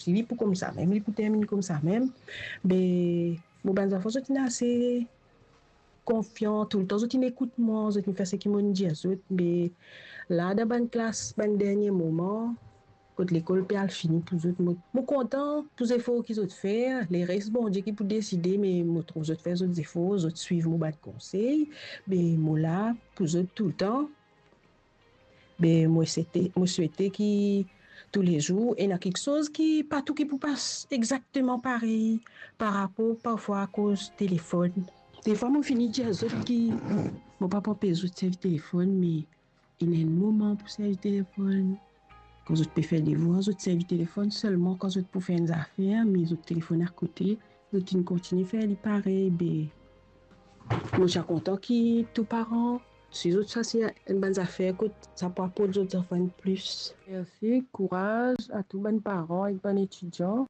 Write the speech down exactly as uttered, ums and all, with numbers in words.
si li pou koumsa mem, li pou terminn koumsa mem. Be mo bann zanfan, zot inn ase konfian, toultan zot inn ekout mwa, zot inn fer seki mo'nn dir zot. Be la, dan bann klas, bann dernie moman, kot lekol pe al fini pou zot, mo, mo kontan pou zefor ki zot fer. Lerest, Bondie ki pou deside, me mo trouv zot fer zot zefor, zot swiv mo bann konsey. Be mo la pou zot toultan. Be mo swete, mo swete ki toulezour ena kiksoz ki, pa tou ki pou pas exakteman parey par rapor parfwa akoz telefonn. Defwa mo fini dir zot ki mo pa pou anpes zot servi telefonn, me ena enn moman pou servi telefonn. Kan zot pe fer devwar, zot servi telefonn selman kan zot pou fer enn zafer, me zot telefonn akote, zot inn kontigne fer li parey. Be mo ti a kontan ki tou paran, si zot sase enn bann zafer kot sa pou aport zot zanfan enn plis. Mersi, kouraz a tou bann paran ek bann etidian.